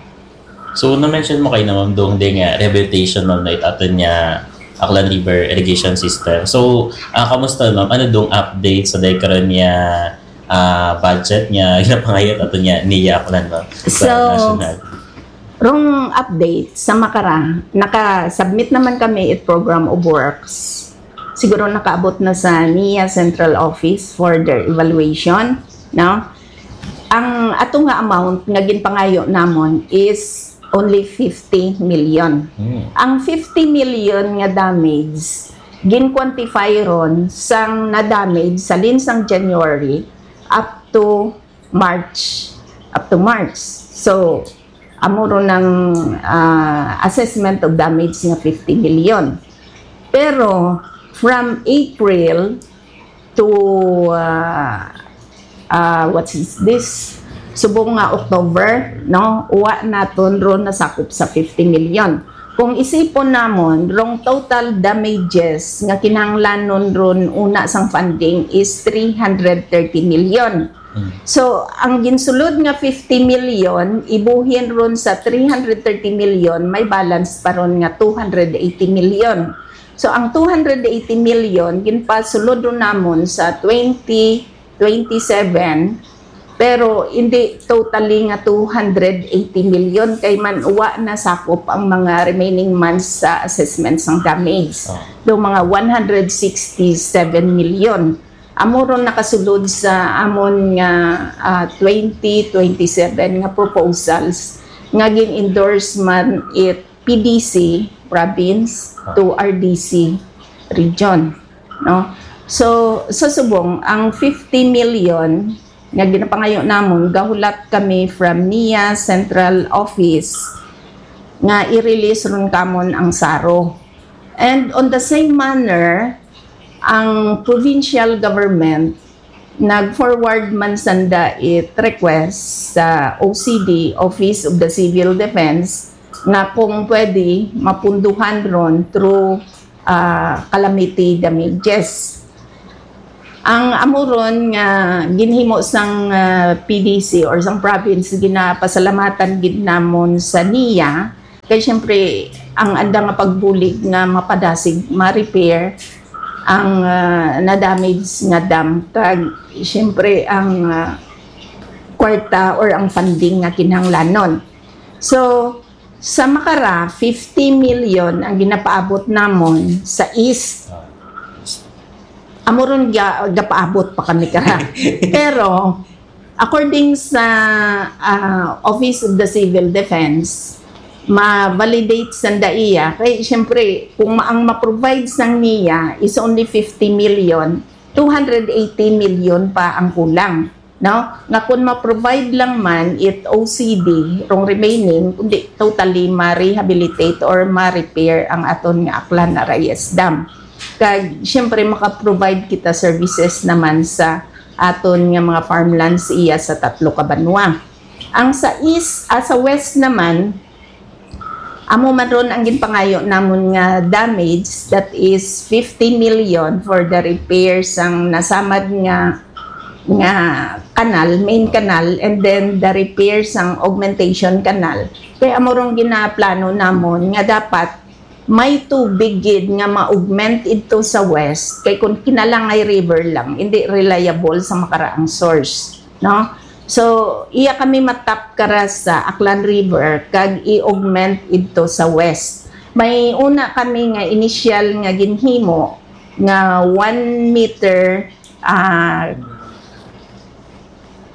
So, na-mention mo kayo naman doon din nga rehabilitation, ma'am, na itaton niya Aklan River Irrigation System. So, ah, kamusta, ma'am? Ano dong update sa day karon niya ah, budget niya ginapangayot ato niya niya Aklan, ma'am? Sa So, national. Rong update sa makara, naka-submit naman kami it program of works. Siguro nakaabot na sa niya central office for their evaluation, no? Ang ato nga amount nga ginpangayo namon is only fifty million. Hmm. Ang fifty million nga damage gin-quantify ron sang na-damage sa linsang January up to March, up to March. So amo ron ang ah, assessment of damage nga fifty million. Pero from April to ah, ah, what is this? Subong nga October, no? Uwa naton ron nasakop sa fifty million. Kung isipon namon, rong total damages nga kinahanglanon ron una sang funding is three hundred thirty million. Mm. So, ang ginsulod nga fifty million, ibuhin ron sa three hundred thirty million, may balance pa ron nga two hundred eighty million. So, ang two hundred eighty million, ginpasulod ron namon sa twenty twenty-seven, pero hindi totally nga two hundred eighty million kay man uwa nasakop ang mga remaining months sa assessment sang damage. Oh. Do mga one hundred sixty-seven million. Amo ron nakasulod sa amon nga ah, twenty twenty-seven nga proposals nga gin-endorse man it P D C province to R D C region, no? So sa subong ang fifty million nga ginapangayo namon, gahulat kami from niya central office nga i-release ron kamon ang saro. And on the same manner, ang provincial government nag-forward man sanda it request sa O C D, Office of the Civil Defense, nga kung pwede mapunduhan ron through ah, calamity damages. Ang amo ron nga ginhimo sang, ah, P D C or sang province, ginapasalamatan gid namon sa niya. Kay siyempre, ang anda nga pagbulig nga mapadasig, ma-repair ang, ah, na-damage nga dam. Kag siyempre, ang, ah, kwarta or ang funding nga kinahanglanon. So, sa Macara, fifty million ang ginapaabot namon sa East. Amo ron ga-, gapaabot pa kami kara. Pero, according sa, ah, Office of the Civil Defense, ma-validate sanda iya. Kay, siyempre, kung ma-, ang ma-provide sang niya is only fifty million, two hundred eighty million pa ang kulang, no? Nga kung ma-provide lang man it O C D, rong remaining, kundi totally ma-rehabilitate or ma-repair ang aton nga Aklan R I S dam. Kag, siyempre, maka-provide kita services naman sa aton nga mga farmlands iya sa tatlo ka banwa. Ang sa east, ah, sa west naman, amo man ron ang ginpangayo namon nga damage, that is fifty million for the repair sang nasamad nga, nga kanal, main canal, and then the repair sang augmentation canal. Kay amo rong ginaplano namon nga dapat may tubig gid nga ma-augment idto sa west, kay kung Kinalangay River lang, hindi reliable sa Macara ang source, no? So, iya kami matap kara sa Aklan River kag i-augment idto sa west. May una kami nga initial nga ginhimo nga one meter, ah,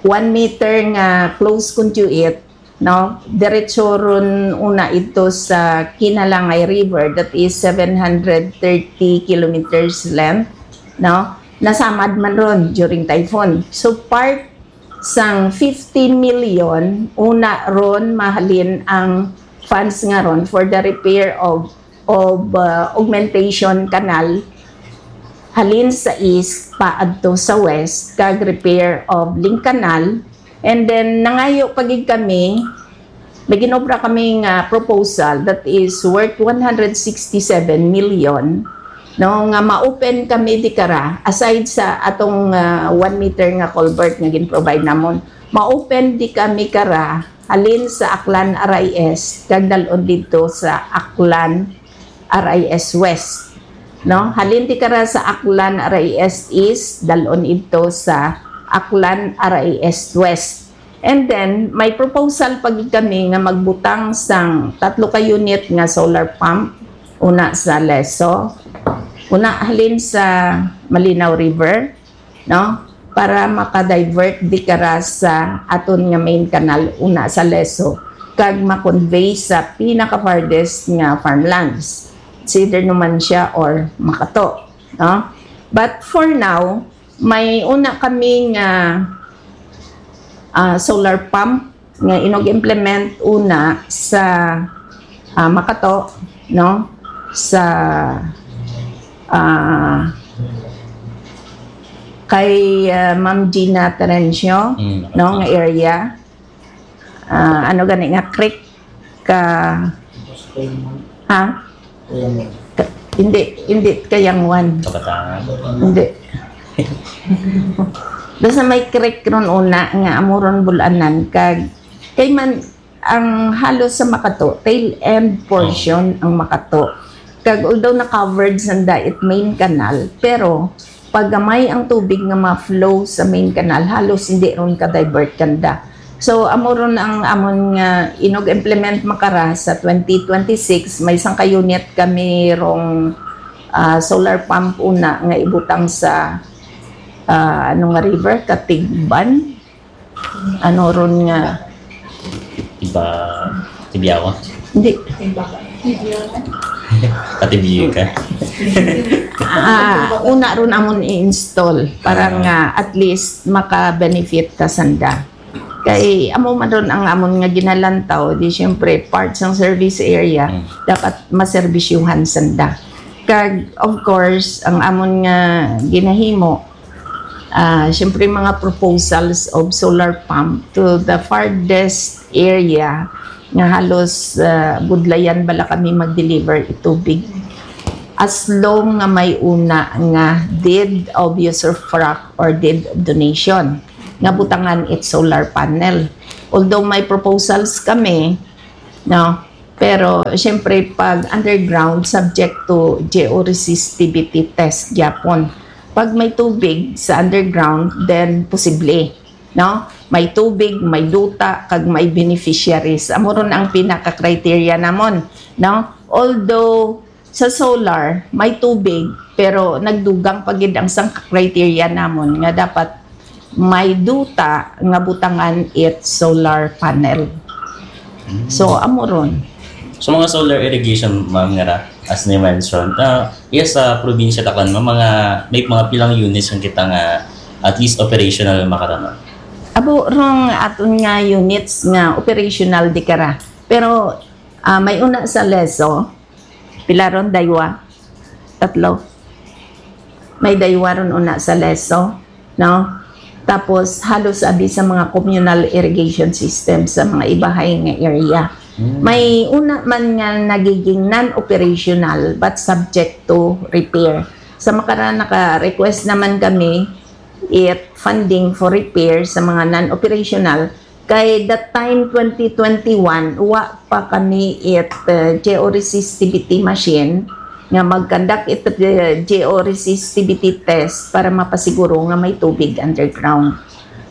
one meter nga close conduit, no? Diretso ron una ito sa Kinalangay River, that is seven hundred thirty kilometers length, no? Nasamad man ron during typhoon. So, part sang fifty million, una ron mahalin ang funds nga ron for the repair of, of, uh, augmentation canal halin sa east paadto sa west, kag repair of link canal. And then, nangayo pa gid kami, may ginobra kami nga proposal that is worth one hundred sixty-seven million, no, nga ma-open kami di kara, aside sa atong, ah, one meter nga culvert nga gin-provide namon, ma-open di kami kara halin sa Aklan R I S kag dal-on didto sa Aklan R I S West, no? Halin di kara sa Aklan R I S East, dal-on idto sa Aklan R I S West. And then, may proposal pa gid kami nga magbutang sang tatlo ka unit nga solar pump, una sa Leso, una halin sa Malinaw River, no? Para maka-divert di kara sa aton nga main canal, una sa Leso, kag ma-convey sa pinaka-farthest nga farmlands, it's either Numancia or Makato, no? But for now, may una kami nga, ah, solar pump nga inug-implement una sa, ah, Makato, no? Sa, ah, kay, ah, Ma'am Gina Terencio, Mm, no, Makato. Nga area. Ah, ano gani nga creek ka, ha? Ka-, hindi, hindi Kayangwan. Kabataan. Hindi. Basta may creek ron una nga amo ron bul-anan kag kay man ang halos sa Makato, tail end portion ang Makato. Kag although na-covered sanda it main canal, pero pag gamay ang tubig nga ma-flow sa main canal, halos hindi ron ka-divert kanda. So, amo ron ang amon nga inug-implement Macara sa twenty twenty-six, may sangka unit kami rong, ah, solar pump una nga ibutang sa, ah, ano nga river, Katigban. Ano ron nga? Iba, Tibiao. Hindi. Patibiyo ka. Ah, una ron amon i-install para Ah. nga at least maka-benefit ka sanda. Kay amo man ron ang amon nga ginalantaw, di siyempre part sang service area, Mm. dapat maserbisyuhan sanda. Kag, of course, ang amon nga ginahimo, ah, siyempre, mga proposals of solar pump to the farthest area nga halos, ah, budlayan bala kami mag-deliver itubig. as long nga may una nga deed of usufruct or deed of donation nga butangan it solar panel. Although may proposals kami, no, pero siyempre pag underground, subject to georesistivity test gyapon. Pag may tubig sa underground, then posible, no? May tubig, may duta, kag may beneficiaries. Amo ron ang pinaka-criteria namon, no? Although sa solar, may tubig, pero nagdugang pa gid ang sang criteria namon nga dapat may duta nga butangan it solar panel. So, amo ron. So, mga solar irrigation, ma'am, nga ra, as ni mentioned, ah, yes, sa probinsya ta kan, ma'am, mga, may mga pilang units ang kita nga at least operational makarama. Abo rong aton nga units nga operational di kara. Pero ah, may una sa Leso, pila ron, daywa, tatlo. May daywa ron una sa Leso, no? Tapos halos abi sa mga communal irrigation system sa mga ibahay nga area. May una man nga nagiging non-operational but subject to repair. Sa makara naka-request naman kami it funding for repair sa mga non-operational kay that time twenty twenty-one wa pa kami it uh, georesistivity machine nga mag-conduct it uh, georesistivity test para mapasiguro nga may tubig underground.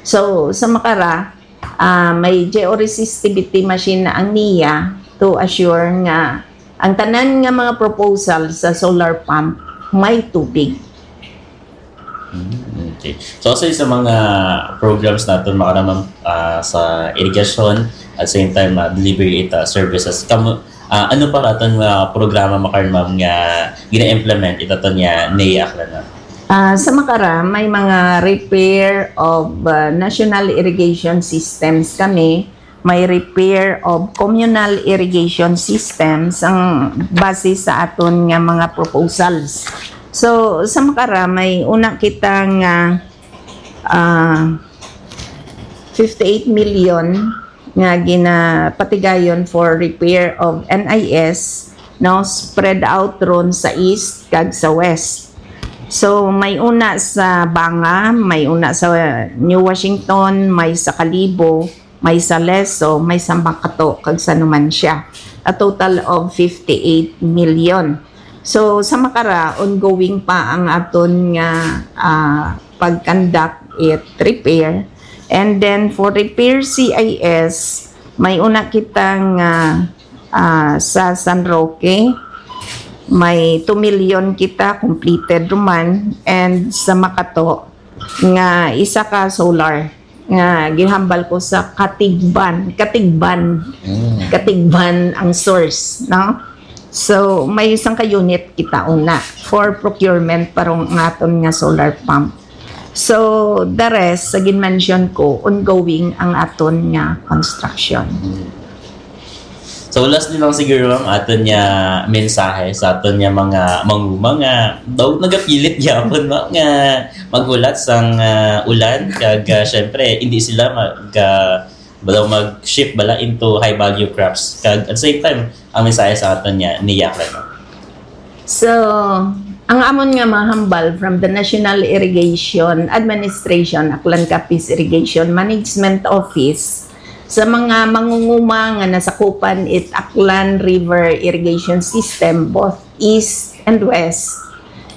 So sa makara uh, may georesistivity machine na ang niya to assure nga ang tanan nga mga proposal sa solar pump may tubig. Mm, okay. So, aside sa mga programs naton, makaramang uh, sa irrigation, at same time, uh, delivery it uh, services, kamo, uh, ano pa raton nga programa makaron, ma'am, nga gina-implement ito to niya NEA Aklan, ma'am? Uh, sa Makara, may mga repair of uh, national irrigation systems kami. May repair of communal irrigation systems ang base sa aton nga mga proposals. So, sa Makara, may una kita nga uh, fifty-eight million nga ginapatigayon for repair of N I S, no, spread out ron sa east kag sa west. So may una sa Banga, may una sa New Washington, may sa Kalibo, may sa Leso, may sa Makato, kag sa Numancia. A total of fifty-eight million. So sa Makara, ongoing pa ang aton nga uh, pag-conduct it repair. And then for repair C I S, may una kita nga uh, sa San Roque, may two million kita completed ruman, and sa Makato nga isa ka solar nga gihambal ko sa Katigban, Katigban. Mm. Katigban ang source, no? So may isang ka unit kita una for procurement para ng aton nga solar pump. So the rest sa gin-mention ko, ongoing ang aton nga construction. So last ni lang siguro ang aton niya mensahe sa aton niya mga manguma nga daw nagapilit gyapon, no, nga maghulat sang uh, ulan kag uh, syempre hindi sila mag uh, daw mag-shift bala into high value crops kag at the same time ang mensahe sa aton niya ni Yaklan. So, ang amon nga mahambal from the National Irrigation Administration, Aklan Capiz Irrigation Management Office, sa mga mangunguma nga nasakupan it Aklan River Irrigation System, both east and west,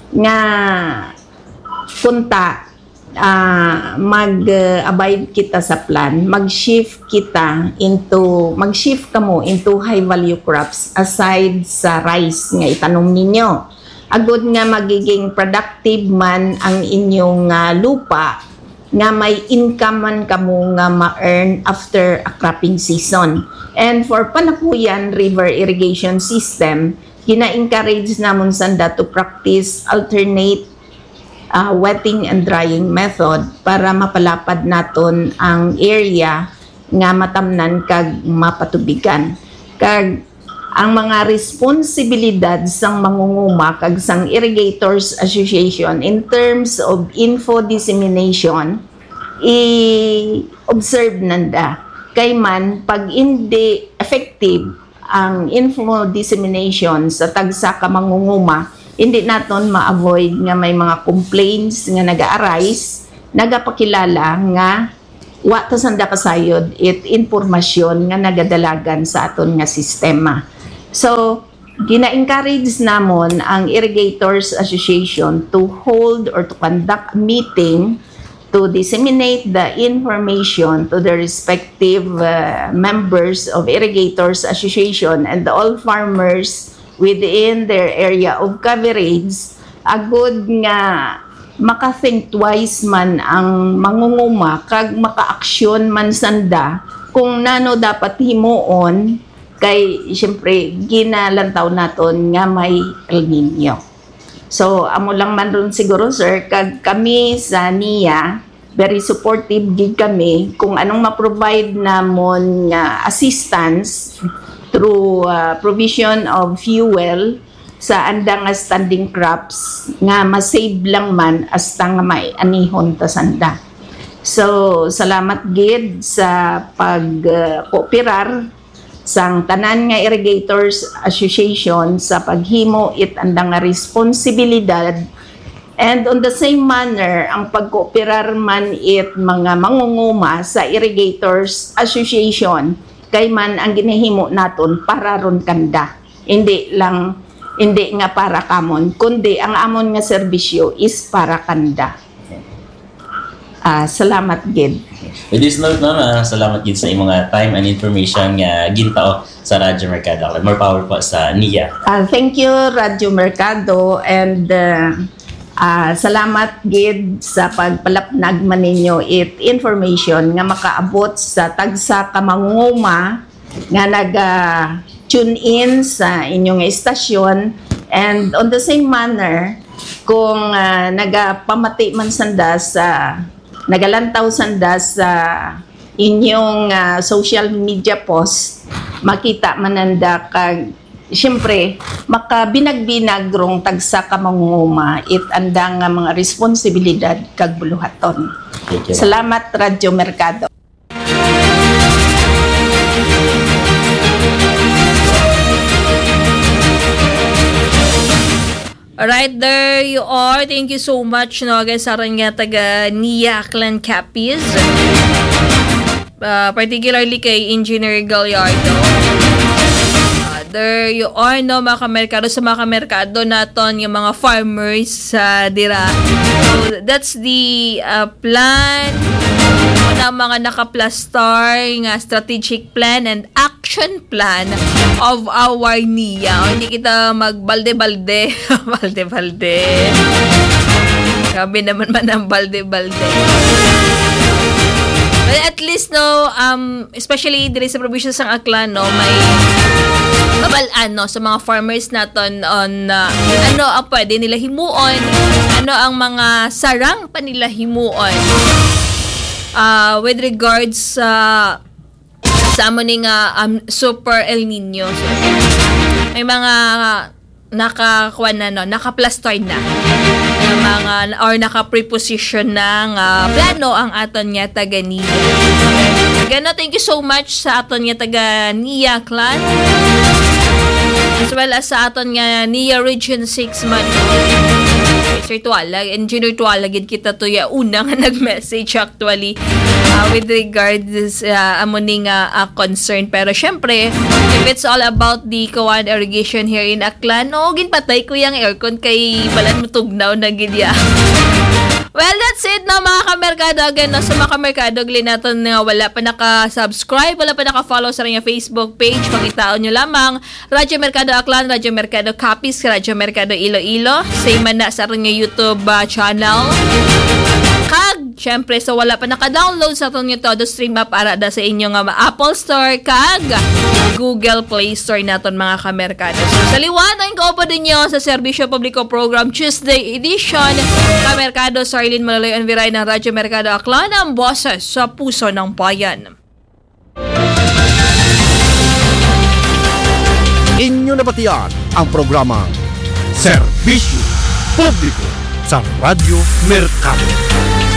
nga kunta uh, mag-abide kita sa plan, mag-shift kita into, mag-shift kamo into high value crops aside sa rice nga itanom ninyo. Agod nga magiging productive man ang inyong uh, lupa nga may income man kamo nga ma-earn after a cropping season. And for Panapuyan River Irrigation System, gina-encourage namon sanda to practice alternate uh, wetting and drying method para mapalapad naton ang area nga matamnan kag mapatubigan. Kag ang mga responsibilidad sang mangunguma kag sang Irrigators Association in terms of info dissemination, i-observe nanda. Kay man, pag hindi effective ang info dissemination sa tagsa ka mangunguma, Hindi naton ma-avoid nga may mga complaints nga naga-arise, nagapakilala nga wa ta sanda kasayod it impormasyon nga nagadalagan sa aton nga sistema. So, gina-encourage namon ang Irrigators Association to hold or to conduct a meeting to disseminate the information to the respective, uh, members of Irrigators Association and all farmers within their area of coverage, agud nga maka-think twice man ang mangunguma kag makaaksyon man sanda kung nano dapat himuon, kay siyempre ginalantaw naton nga may El Nino. So, amo lang man ron siguro, sir, kag kami sa NIA, very supportive gid kami kung anong ma-provide namon nga assistance through, uh, provision of fuel sa andang nga standing crops nga ma-save lang man hasta nga may anihon ta sanda. So, salamat gid sa pag, uh, kooperar sang tanan nga Irrigators Association sa paghimo it andang nga responsibilidad, and on the same manner, ang pagkooperar man it mga mangunguma sa Irrigators Association, kay man ang ginahimo naton para ron kanda, hindi lang, hindi nga para kamon, kundi ang amon nga serbisyo is para kanda. Ah, salamat gid. With this note, ma'am, ah, salamat gid sa imong, ah, time and information nga gintao sa Radyo Merkado. More power po sa NIA. Ah, thank you, Radyo Merkado, and, ah, ah, salamat gid sa pagpalapnag man ninyo it information nga makaabot sa tagsa ka mangunguma nga naga-tune in sa inyong estasyon. And on the same manner, kung, ah, nagapamati man sanda sa, nagalantaw sanda sa inyong, ah, social media post, makita man nanda kag, siyempre, makabinag-binag rong tagsa ka mangunguma it andang nga mga responsibilidad kag buluhaton. Thank you. Salamat, Radyo Merkado. Alright, there you are. Thank you so much, no, again, sa aton nga taga NIA Clan Capiz. Uh, particularly kay Engineer Gallardo. Uh, there you are, no, mga kamerkado, sa mga kamerkado naton, yung mga farmers, uh, dira. So, that's the, uh, plan. Ano ang mga nakaplastar nga strategic plan and action plan of our NIA. O, hindi kita magbalde-balde. Balde-balde. Grabe naman man ang balde-balde. Well, at least, no, um, especially diri sa probinsya sang Aklan, no, may kabalaan, no, sa mga farmers naton on, uh, ano ang pwede nila himuon, ano ang mga sarang pa nila himuon, uh, with regards sa sa amo ni nga, um, super El Nino. So, may mga nakakuha na, no, nakaplastar na ng mga, or naka-preposition na nga plano ang aton nga taga NIA. Gano, thank you so much sa aton nga taga NIA Clan, as well as sa aton nga NIA Region six man. Sir Tuala, Engineer Tuala, gid kita to ya una nga nag-message actually, uh, with regards, uh, amo ni nga, uh, concern. Pero syempre, if it's all about the Kawan irrigation here in Aklan, no, ginpatay ko yung aircon kay balan mo tugnaw na gid ya. Well, that's it na, mga kamerkado. Again, no, sa mga kamerkado, gali naton nga wala pa naka-subscribe, wala pa naka-follow sa inyong Facebook page, pangitaon nyo lamang Radyo Merkado Aklan, Radyo Merkado Capiz, Radyo Merkado Iloilo. Same man na sa aton nga YouTube, ah, channel. Kag, syempre, sa wala pa naka-download sa aton nga Todo Stream app, ara da sa inyo nga ma-, Apple Store kag Google Play Store naton, mga kamerkado. So, sa liwat, ang kaupo ninyo sa Serbisyo Publiko Program Tuesday Edition, Kamerkado Sarlene Maloloy Anviray ng Radyo Merkado Aklan, ang boses sa puso ng bayan. Inyo nabatian ang programang Serbisyo Publiko sa Radyo Merkado.